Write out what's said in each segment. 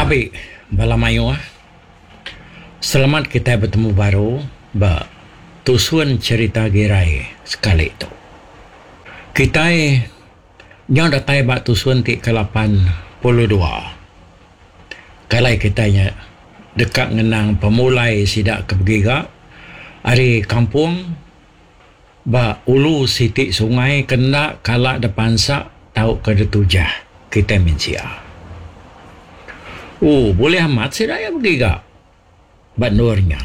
Tabi bala mayuh. Selamat kitai betemu baru ba tusun cherita Girai sekali tu. Kitai nyau datai ba tusun ti ke 82. Kalai kitai nya deka ngenang pemulai sida ke begiga ari kampung Ba ulu siti sungai ke enda kala dipansa tauka ditujah kitai mensia. Ooh bulih amat sida iya begiga ba endur nya.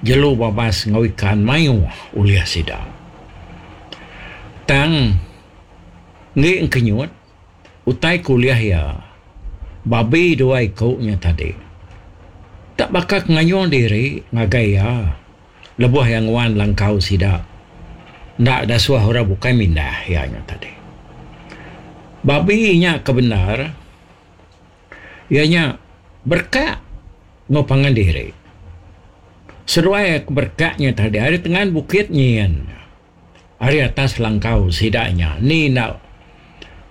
Jelu babas enggau ikan mayuh ulih sida. Tang enggi engkenyut utai ke ulih iya babi dua iku nya tadi tak baka ke ngayung diri ngagai iya. Lebuh iya nguan langkau sida enda dasuh orang bukai mindah iya nya tadi. Babi nya ke bendar iya nya berekak enggau pangan diri. Seduai ke berekak nya tadi ari tengan bukit nyin ari atas langkau sida nya ni enda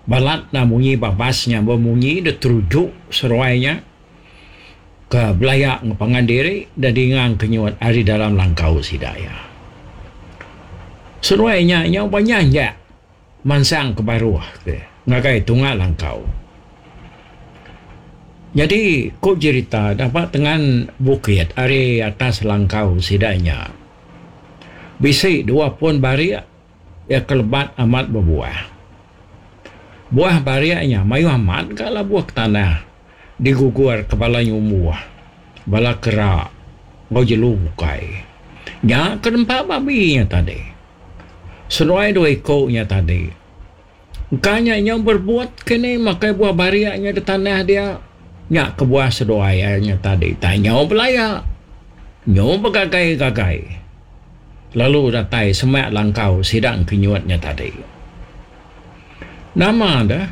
balat enda munyi babas nya bemunyi deh terujuk seduai nya. Ke belaya enggau pangan diri da dinga kenyut ari dalam langkau sida iya. Seduai nya nyau banyah enjak mansang ke baruh ke ngagai tunga langkau. Nyadi ku jerita da ba tengan bukit ari atas langkau sida nya bisi dua pun barik iya ke lebat amat bebuah. Buah barik nya mayuh amat ga labuh ke tanah. Digugur ke bala nyumbuh, bala kera enggau jelu bukai. Nya ke nempa babi nya tadi. Seduai dua iku nya tadi. Engka nya nyau berebut ke ni makai buah barik nya da tanah dia. Nya kebuah seduai iya nya tadi tai nyau belaya. Nyau begagai-gagai lalu datai semak langkau sida engkenyut nya tadi. Nama deh.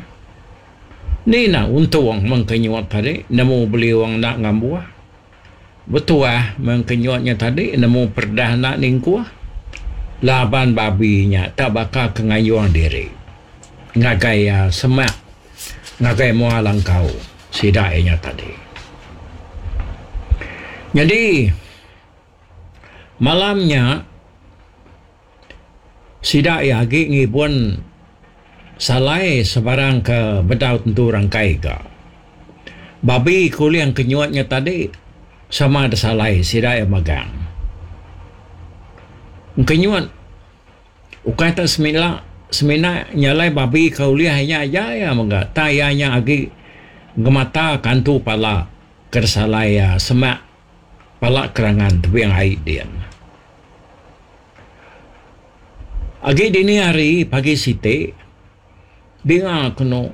Ni enda untung meng kenyut tadi nemu beliung enda ngambuh. Betuah meng kenyut nya tadi nemu peredah enda ningkuh laban babi nya tak baka ke ngayung diri ngagai iya semak ngagai mua langkau sida iya nya tadi. Nyadi malam nya. Sida iya agi ngibun salai sebarang ke bedau tentu rangkai ga. Babi kuling kenyut nya tadi sama da salai sida iya magang. Engkenyut ukai te semina semina nyalai babi ke ulih nya aja iya mega tang iya nya agi ngemata kantu pala ke disalai iya semak pala kerangan tebing ai din. Agi dini hari pagi siti dinga kenu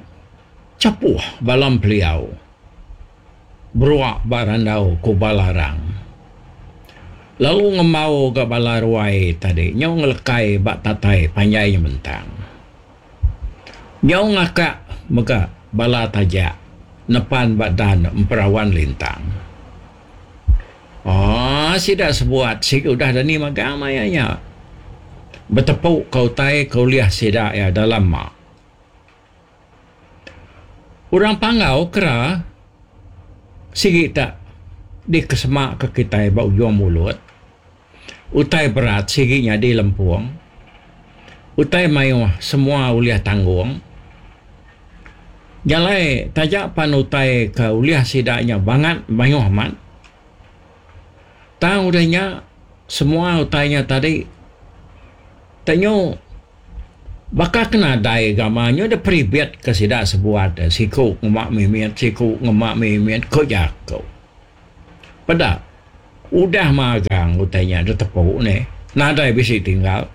chapuh bala empeliau berua ba randau ku bala rang. Lalu ngembau ga bala ruai tadi nyau ngelekai ba tatai panjai nyementang. Nyau ngakak mega bala tajak nepan ba dan emperawan lintang. Aaa sida sebuat sigi udah dani magang maya nya. Betepu ka utai ke ulih sida iya dalam ma. Orang Panggau kera sigi tak dikesema ka kitai ba ujung mulut. Utai berat sigi nyadi lempung. Utai mayuh semua ulih tanggung. Jalai taja pan utai ke ulih sida nya bangat mayuh amat. Tang udah nya semua utai nya tadi tenyu baka ke nadai gama nyu dep peribit ke sida sebuat siku ngema mimit siku ngema mimit ku jaku. Peda udah magang utai nya ditepu neh nadai bisi tinggal.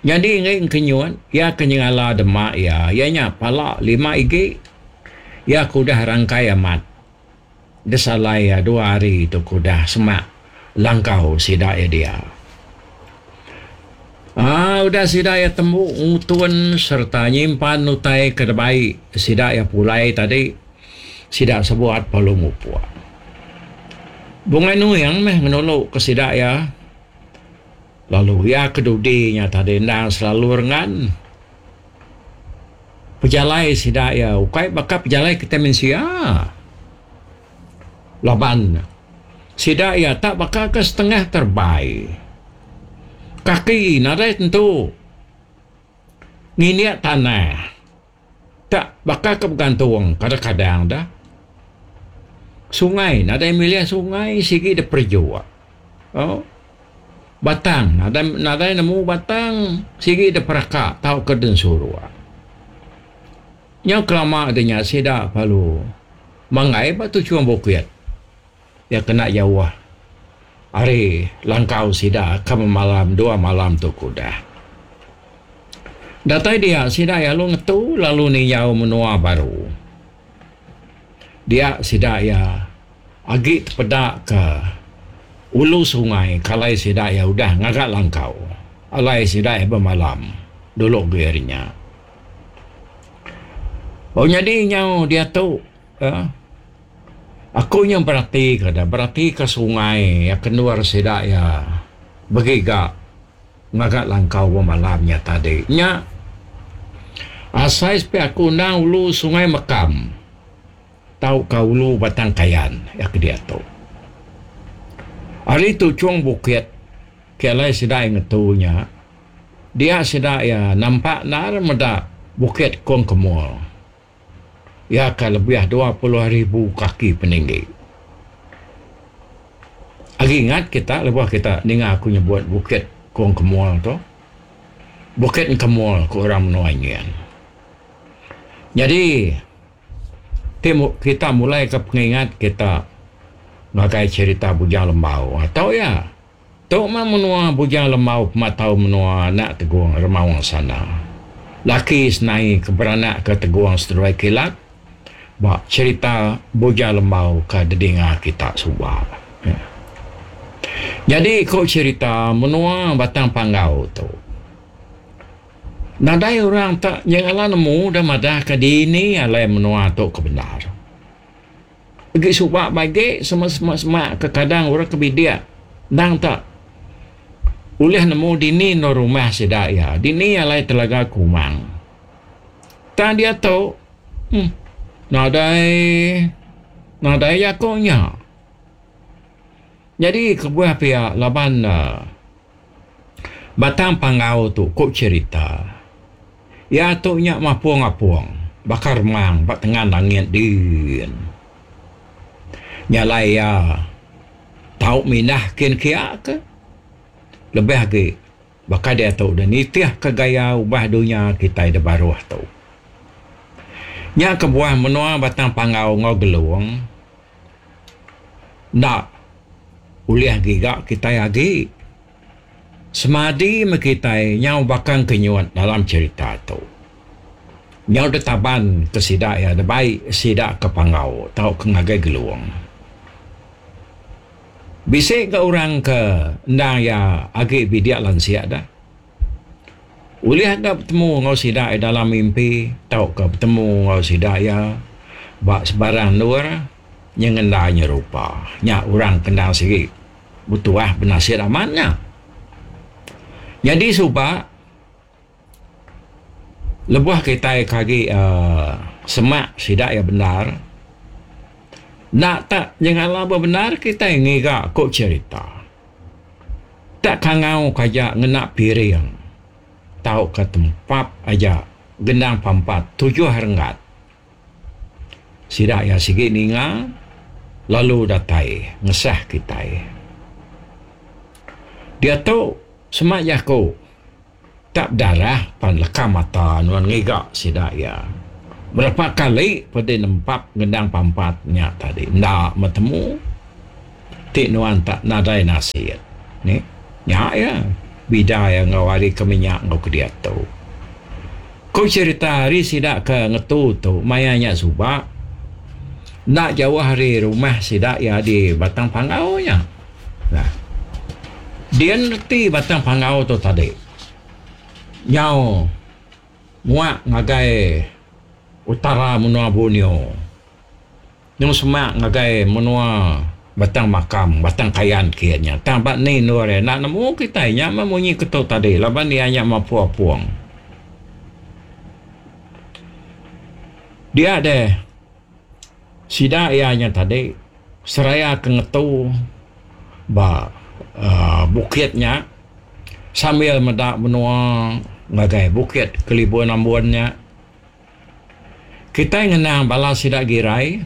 Nyadi enggai engkenyut, iya ke nyengala dema iya, iya nya pala lima igi. Iya ke udah rangkai amat disalai iya dua hari tu ke udah semak langkau sida iya dia. Aa udah sida iya tembu ngutun sereta nyimpan utai ke dibai sida iya pulai tadi, sida sebuat perlu mupuk. Bungai Nuing meh ngenulu ke sida iya. Lalu iya ke dudi nya tadi endang selalu rengan. Pejalai sida iya ukai baka pejalai kitai mensia. Laban sida iya tak baka ke setengah terebai. Kaki nadai tentu ngindik tanah tak baka ke begantung kadang-kadang dah. Sungai nadai milih sungai sigi dep perejuk. Au. Batang nadai nadai nemu batang sigi dep peraka tauka densuruk. Nyau kelama de nya sida lalu manggai ba tuchung bukit iya kena jauh ari langkau sida ke memalam dua malam tu ke udah. Datai dia sida iya lalu ngetu lalu ninjau menua baru. Dia sida iya agi tepeda ke ulu sungai ke alai sida iya udah ngaga langkau alai sida iya bemalam dulu agi ari nya. Oh nyadi nyau diatu uhh aku nyau berati ka da berati ka sungai ke endur sida iya begiga ngaga langkau bemalam nya tadi. Nya asai sepi aku endang ulu sungai Mekam tauka ulu Batang Kayan iya ke diatu. Ari tuchung bukit ke alai sida iya ngetu nya. Dia sida iya nampak endar meda Bukit Kong Kemul. Iya ka lebih 20,000 kaki peninggi. Agi ingat kita lebuh kita ninga aku nyebut Bukit Kong Kemul tu? Bukit Engkemul ku orang menua nyin. Nyadi ti kita mulaika pengingat kita ngagai cherita Bujang Lembau tu iya. Tu mah menua Bujang Lembau pematau menua anak Tegung Remaung Sana. Laki Senai ke beranak ke Tegung seduai Kilat ba cherita Bujang Lembau ke didinga kita suba. Nyadi ku cherita menua Batang Panggau tu nadai orang tak nyengala nemu da madah ke dini alai menua tu ke bendar. Agi suba bagi sema-sema kekadang orang ke bidik endang tak ulih nemu dini endur rumah sida iya, dini alai Telaga Kumang. Tang diatu uhh nadai nadai jaku nya. Nyadi kebuah pia laban uhh Batang Panggau tu ku cherita. Iya tu nya mapung-apung baka remang ba tengan langit din. Nya alai iya tau mindah kin kia ke lebih agi baka diatu deh nitihka gaya ubah dunya kitai da baruh tu. Nya kebuah menua Batang Panggau enggau Gelong enda ulih giga kitai agi. Semadi meh kitai nyau baka engkenyut dalam cherita tu. Nyau ditaban ke sida iya dibai sida ke Panggau tauka ngagai Gelong. Bisi ga orang ke endang iya agi bidik lansik deh. Ulih ga betemu enggau sida iya dalam mimpi tauka betemu enggau sida iya ba sebarang endur nyengenda nyerupa. Nya orang ke endang sigi. Betuah benasit amat nya. Nyadi suba lebuh kitai ke agi uhh semak sida iya bendar enda tak nyengala bebendar kitai ngiga ku cherita. Tak kangau ke aja ngena piring tauka tempap aja gendang pampat tujuh renggat. Sida iya sigi ninga lalu datai ngesah kitai. Diatu sema jaku tak bedarah pan leka mata nuan ngiga sida iya. Berapa kali pedi nempap ngendang pampat nya tadi enda betemu ti nuan tak nadai nasit. Nih nya iya bida iya enggau hari ke menya enggau ke diatu. Ku cherita ari sida ke ngetu tu maya nya suba enda jauh ari rumah sida iya di Batang Panggau nya. Nah. Din reti Batang Panggau tu tadi nyau muak ngagai utara menua Borneo. Nyau semak ngagai menua Batang Makam, Batang Kayan kiye nya. Tang ba ni endur iya enda nemu kitai nya meh munyi ke tu tadi laban iya nya mapung-apung. Dia deh sida iya nya tadi seraya ke ngetu ba uhh bukit nya sambil meda menua ngagai bukit Kelibun Ambun nya. Kitai ngenang bala sida Girai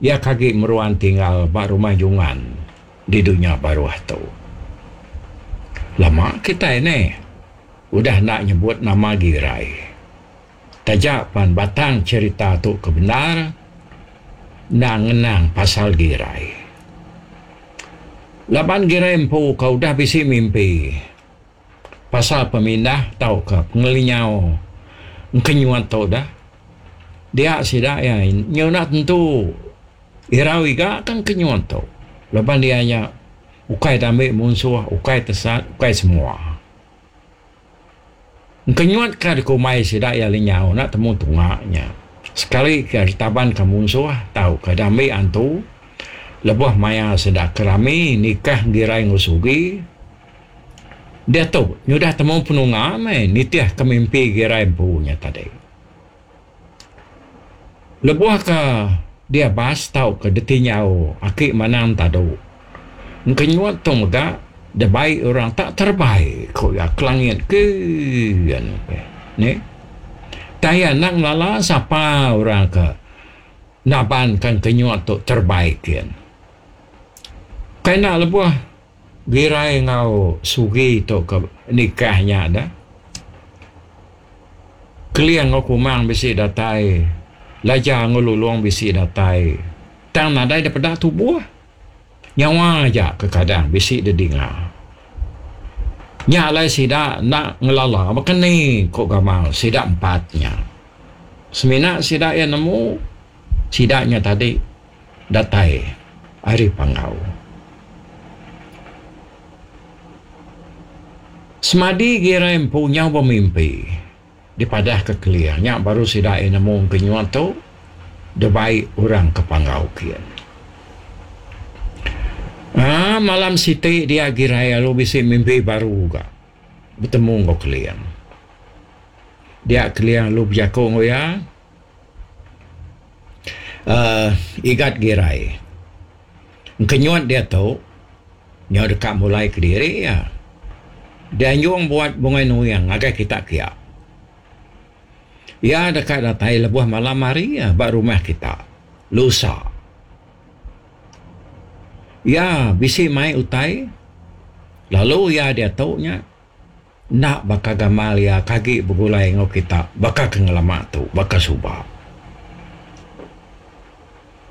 iya ke agi meruan tinggal ba Rumah Jungan di dunya baruh tu. Lama kitai neh udah enda nyebut nama Girai. Taja pan batang cherita tu ke bendar enda ngenang pasal Girai. Laban Girai empu ke udah bisi mimpi. Pasal pemindah tauka pengelinyau engkenyut tu dah dia sida iya nyau enda tentu irau iga ka engkenyut tu laban iya nya ukai tambi munsuh ukai tesat ukai semua. Engkenyut ka dikumbai sida iya lenyau enda temu tunga nya sekali ke ditaban ka munsuh tauka diambi antu lebuh maya sida ke rami nikah ngirai enggau sugi. Diatu, nyudah temu penunga meh nitihka mimpi Girai empu nya tadi. Lebuh ke diabas tauka ditinjau aki Manang Tadu, engkenyut tu mega dibai orang tak terebai ku iya ke langit kin. Nih. Tang iya enda ngelala sapa orang ke nabanka engkenyut tu terebai kin. Kai enda lebuh Girai enggau Sugi tu ke nikah nya dah. Keling enggau Kumang bisi datai, Laja enggau Lulong bisi datai. Tang nadai da peda tubuh. Nyawa aja kekadang bisi didinga. Nya alai sida enda ngelala baka ni ku gamal sida empat nya. Semina sida iya nemu sida nya tadi. Datai ari Panggau. Semadi Girai empu nyau bemimpi dipadahka Keling nya baru sida iya nemu engkenyut tu dibai orang ke Panggau kin. Aa malam siti dia Girai lalu bisi mimpi baru ga betemu enggau Keling. Dia Keling lalu bejaku enggau iya. uhh Igat Girai. Engkenyut diatu nyau deka mulai kediri iya. Dianjung buat Bungai Nuing ngagai kita kiya. Iya deka datai lebuh malam hari iya ba rumah kita, lusa. Iya bisi mai utai lalu iya diatu nya. Enda baka gamal iya ke agi begulai enggau kita baka ke ngelama tu, baka suba.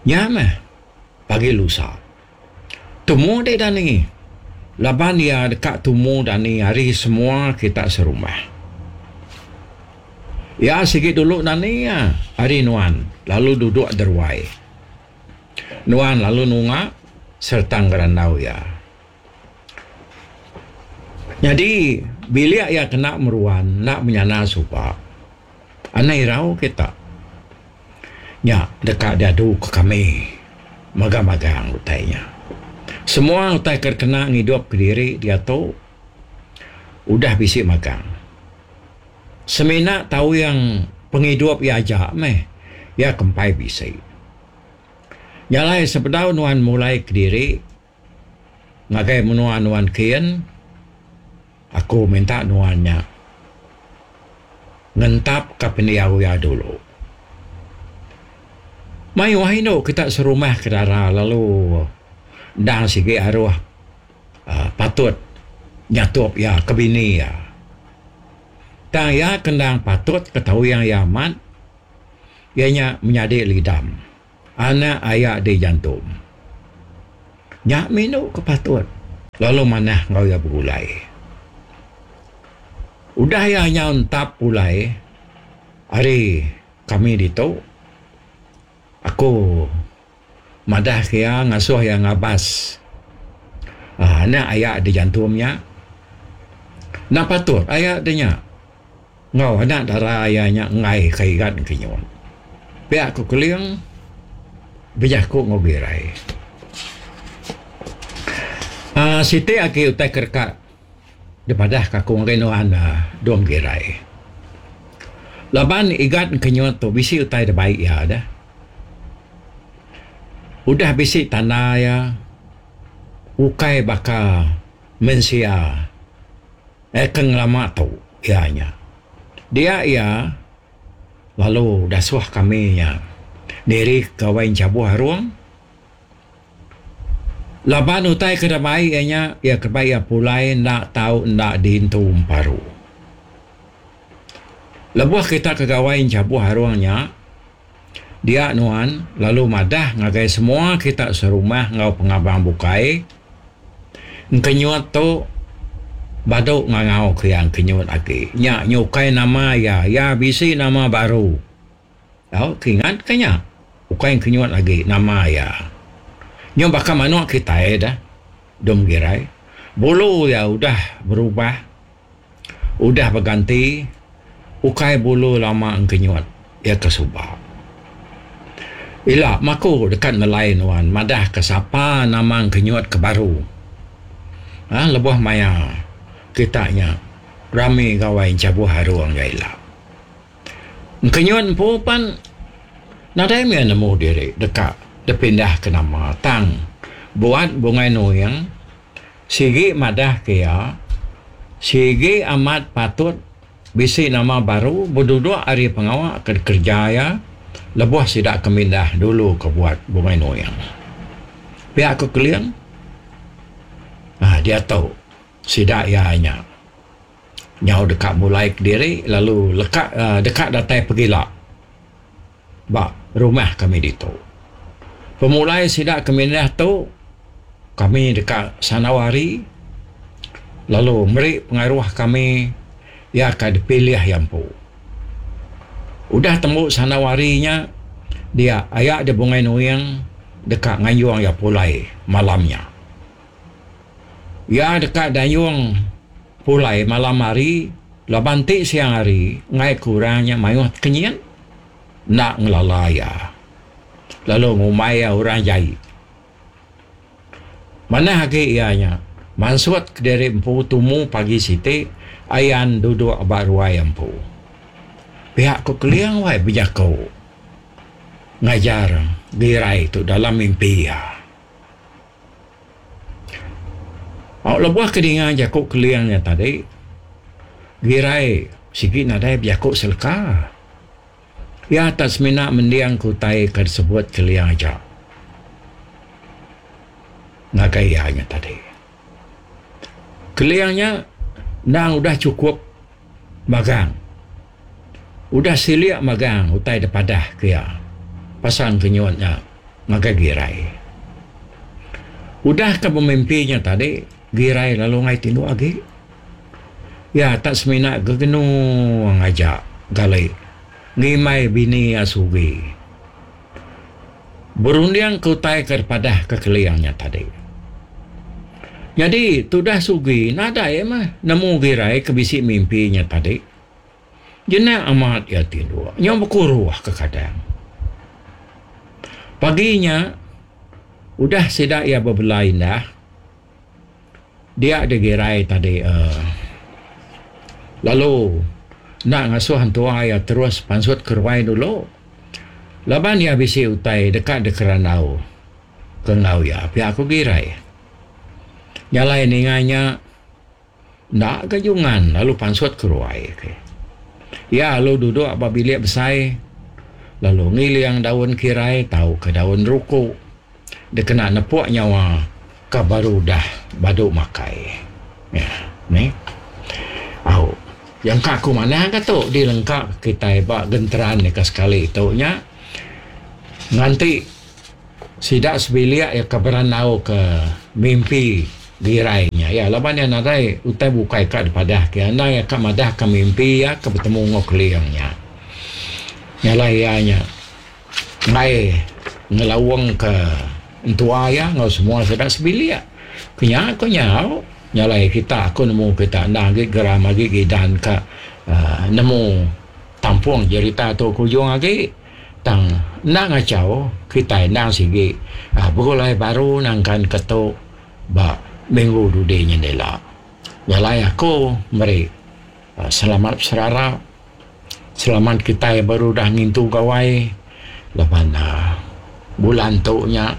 Nya meh pagi lusa. Tumu deh dani laban iya deka tumu dani ari semua kita serumah. Iya sigi dulu dani iya ari nuan lalu duduk deruai. Nuan lalu nunga sereta ngerandau iya. Nyadi bilik iya kena meruan enda menyana suba. Anang irau kita. Nya deka diadu ke kami magang-magang utai nya. Semua utai ke dikena ngidup kediri diatu udah bisi magang. Semina tawing pengidup iya aja meh iya ke empai bisi. Nya alai sebedau nuan mulai kediri Ngagai menua nuan kin, aku minta nuan nya ngentapka pendiau iya dulu. Mayuh indu kita serumah ke dara lalu endang sigi aruh uhh patut nyatup iya ke bini iya. Tang iya ke endang patut ke tawing iya amat iya nya menyadi Lidam. Anak aya di jantum. Nya mindu ke patut lalu manah enggau iya begulai. Udah iya nyau entap pulai ari kami ditu, aku madah ke iya ngasuh iya ngabas aaa anak aya di jantum nya. Enda patut aya di nya. Enggau anak dara iya nya enggai ka igat engkenyut. Pia ku Keling bejaku enggau Girai. Aaa siti agi utai ke deka dipadah ka aku ngagai nuan Dom Girai. Laban Igat Engkenyut tu bisi utai da bai iya deh. Udah bisi tanda iya ukai baka mensia eh ke ngelama tu iya nya. Dia iya lalu dasuh kami nya niri gawai enchabuh arung. Laban utai ke dabai iya nya, iya ke bai iya pulai enda tau enda diintu emparu. Lebuh kita ke gawai enchabuh arung nya, dia nuan lalu madah ngagai semua kita serumah enggau pengabang bukai, Engkenyut tu badu ngangau ke iya engkenyut agi. Nya nyukai nama iya, iya bisi nama baru. Tau ke ingat ka nya. Ukai engkenyut agi nama iya. Nyau baka manuk kitai dah Dom Girai. Bulu iya udah berubah, udah beganti ukai bulu lama engkenyut iya ke suba. Ila maku deka nelai nuan madah ke sapa nama engkenyut ke baru. Aa lebuh maya kita nya rami gawai enchabuh arung iya ila. Engkenyut empu pan nadai mih nemu diri deka dipindah ke nama tang buat Bungai Nuing sigi madah ke iya sigi amat patut bisi nama baru beduduk ari pengawa ke dikereja iya lebuh sida ke mindah dulu ke buat Bungai Nuing. Pia ku Keling uhh diatu sida iya nya. Nyau deka mulai kediri lalu leka deka datai pegila ba rumah kami ditu. Pemulai sida ke mindah tu kami deka sandau hari lalu meri pengaruh kami iya ka dipilih iya empu. Udah tembu sandau hari nya dia aya da Bungai Nuing deka nganjung iya pulai malam nya. Iya deka dayung pulai malam hari laban ti siang hari enggai ke orang nya mayuh tekenyit enda ngelala iya lalu ngumbai iya orang jai. Manah agi iya nya mansut kediri empu tumu pagi siti ayan duduk ba ruai empu. Pia ku Keling wai bejaku ngajar Girai tu dalam mimpi iya. Au lebuh ke ninga jaku Keling nya tadi, Girai sigi nadai bejaku seleka. Iya tak semina mending ke utai ke disebut Keling aja ngagai iya nya tadi. Keling nya endang udah chukup magang. Udah silik magang utai dipadah ke iya pasal engkenyut nya ngagai Girai. Udah ke bemimpi nya tadi, Girai lalu enggai tinduk agi. Iya tak semina gegenung aja gali ngimbai bini iya Sugi. Berunding ke utai ke dipadah ke Keling nya tadi. Nyadi tudah Sugi nadai meh nemu Girai ke bisi mimpi nya tadi. Jenak amat iya tinduk nyau bekuruh kekadang. Pagi nya udah sida iya bebela indah dia digirai tadi uhh lalu enda ngasuh entua iya terus pansut ke ruai dulu laban iya bisi utai deka dikerandau ke enggau iya pia ku Girai. Nya alai ninga nya Enda ga Jungan lalu pansut ke ruai ke. Iya lalu duduk ba bilik besai lalu ngiling daun kirai tauka daun ruku dikena nepuk nyawa ka baru udah badu makai. Nya nih. Au jangka aku manah ga tu dilengka kitai ba genteran ika sekali tu nya nganti Sida sebilik iya ke berandau ke mimpi Girai nya iya laban iya nadai utai bukai ka dipadah ke iya endang iya ka madah ka mimpi iya ke betemu enggau Keling nya. Nya alai iya nya enggai ngelaung ke entua iya enggau semua sida sebilik. Ke nya ku nyau nya alai kita aku nemu kita endang agi geram agi gidan ka uhh nemu tampung jerita tu ke ujung agi. Tang enda ngachau kitai endang sigi begulai baru nangkan ke tu ba minggu dudi nyin ila. Nya alai aku meri selamat beserara. Selamat kitai baru udah ngintu gawai laban uhh bulan tu nya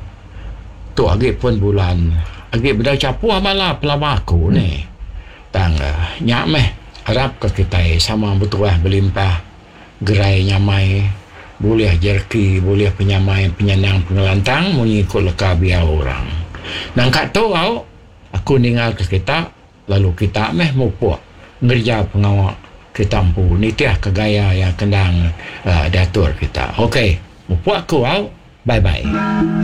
tu agi pun bulan agi bedau chapuh bala pelaba aku nih. Tang uhh nya meh arap ka kitai sama betuah belimpah gerai nyamai bulih jereki bulih penyamai penyenang pengelantang munyi ku leka biau orang. Nangka tu au aku ninggal ka kita. Lalu kita meh mupuk ngereja pengawa kita empu nitihka gaya iya ke endang diatur kita. Ok, mupuk aku au. Bye bye.